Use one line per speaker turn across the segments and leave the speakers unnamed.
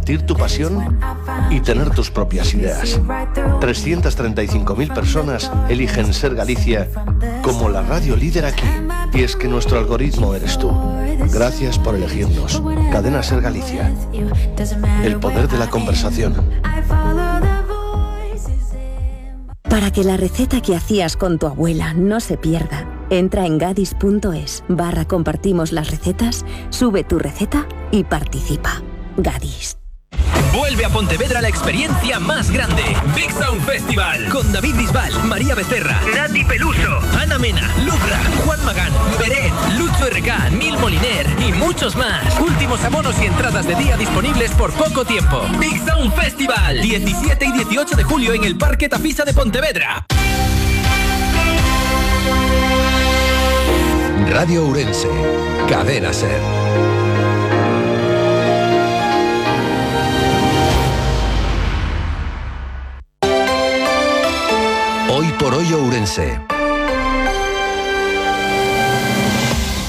compartir tu pasión y tener tus propias ideas. 335.000 personas eligen Ser Galicia como la radio líder aquí. Y es que nuestro algoritmo eres tú. Gracias por elegirnos. Cadena Ser Galicia. El poder de la conversación.
Para que la receta que hacías con tu abuela no se pierda, entra en gadis.es/compartimos las recetas, sube tu receta y participa. Gadis.
Vuelve a Pontevedra la experiencia más grande. Big Sound Festival. Con David Bisbal, María Becerra, Nati Peluso, Ana Mena, Lubra, Juan Magán, Beret, Lucho RK, Nil Moliner y muchos más. Últimos abonos y entradas de día disponibles por poco tiempo. Big Sound Festival. 17 y 18 de julio en el Parque Tafisa de Pontevedra.
Radio Ourense. Cadena Ser. Hoy por hoy Ourense.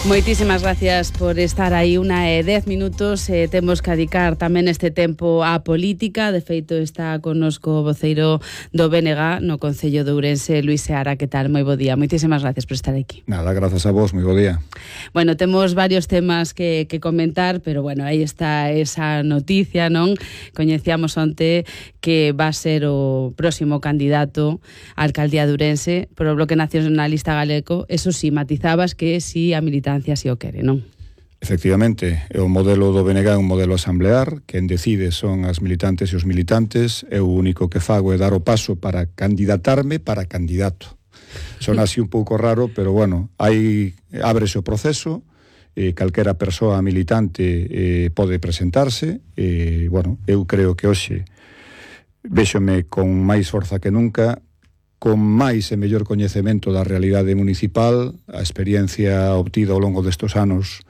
Moitísimas gracias por estar aí. 10 minutos. Temos que dedicar tamén este tempo á política. De feito, está connosco o voceiro do BNG no Concello de Ourense, Luís Seara. Que tal? Moi bo día. Moitísimas gracias por estar aquí.
Nada, grazas a vos. Moi bo día.
Bueno, temos varios temas que comentar, pero bueno, aí está esa noticia, non? Coñecíamos onte que va a ser o próximo candidato á alcaldía de Ourense por o Bloque Nacionalista Galego. Eso sí, matizabas que si a militancia si o quere, non?
Efectivamente, o modelo do BNG é un modelo asamblear, quen decide son as militantes e os militantes, e o único que fago é dar o paso para candidatarme para candidato. Son así un pouco raro, pero bueno, ábrese o proceso, calquera persoa militante pode presentarse, bueno, eu creo que hoxe véxome con máis forza que nunca, con máis e mellor coñecemento da realidade municipal, a experiencia obtida ao longo destes anos,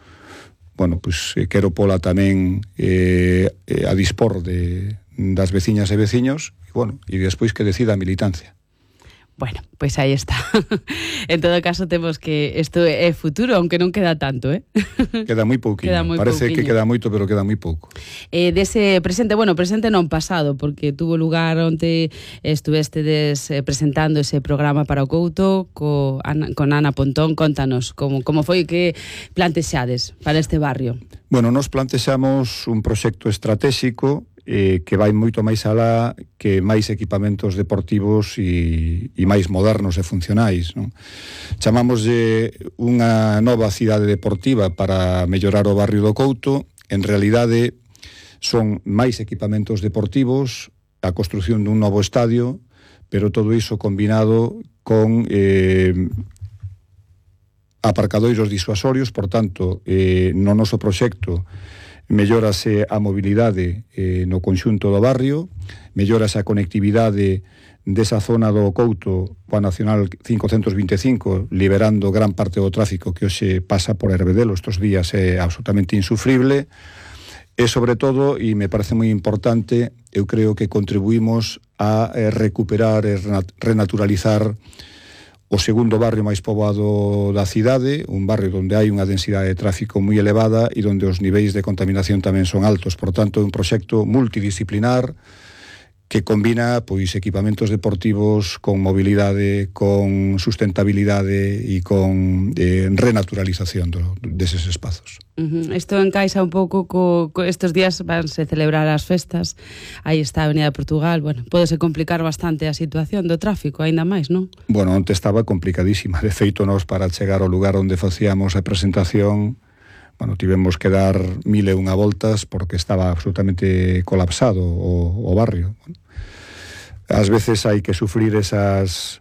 bueno, pois quero pola tamén a dispor das veciñas e veciños, e bueno, e despois que decida a militancia.
Bueno, pois aí está. En todo caso, temos que isto é futuro, aunque non queda tanto,
Queda moi pouquinho. Parece pouquiño. Que queda moito, pero queda moi pouco.
Dese presente, bueno, presente non pasado, porque tuvo lugar onte estuvestedes presentando ese programa para o Couto con Ana Pontón. Contanos como foi que plantexades para este barrio.
Bueno, nos plantexamos un proxecto estratégico que vai moito máis alá que máis equipamentos deportivos e máis modernos e funcionais, non? Chamámoslle unha nova cidade deportiva para mellorar o barrio do Couto. En realidade son máis equipamentos deportivos, a construción dun novo estadio, pero todo iso combinado con aparcadoiros disuasorios. Por tanto, no noso proxecto mellórase a mobilidade no conxunto do barrio, mellórase a conectividade desa zona do Couto coa Nacional 525, liberando gran parte do tráfico que hoxe pasa por Herbedelo estes días, é absolutamente insufrible, e sobre todo, e me parece moi importante, eu creo que contribuímos a recuperar e renaturalizar o segundo barrio máis poboado da cidade, un barrio onde hai unha densidade de tráfico moi elevada e onde os niveis de contaminación tamén son altos. Por tanto, é un proxecto multidisciplinar que combina pois equipamentos deportivos con mobilidade, con sustentabilidade e con renaturalización deses espazos.
Isto encaixa un pouco estes días vanse celebrar as festas. Aí está a Avenida de Portugal. Bueno, pódese complicar bastante a situación do tráfico, aínda máis, non?
Bueno, onte estaba complicadísima. De feito, nós para chegar ao lugar onde facíamos a presentación, bueno, tivemos que dar 1001 voltas porque estaba absolutamente colapsado o barrio. Bueno, ás veces hai que sufrir esas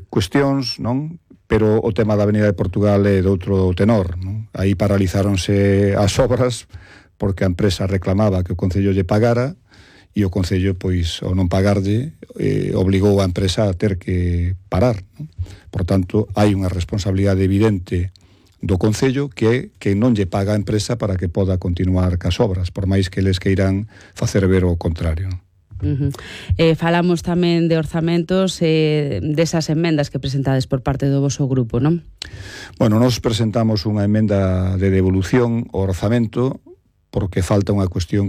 cuestións, non? Pero o tema da Avenida de Portugal é de outro tenor, non? Aí paralizáronse as obras porque a empresa reclamaba que o Concello lle pagara e o Concello, pois, ao non pagarlle, obligou a empresa a ter que parar, non? Por tanto, hai unha responsabilidade evidente do Concello que non lle paga a empresa para que poda continuar cas obras, por máis que eles queiran facer ver o contrario, non?
Falamos tamén de orzamentos, desas enmendas que presentades por parte do voso grupo, non?
Bueno, nos presentamos unha emenda de devolución ao orzamento porque falta unha cuestión que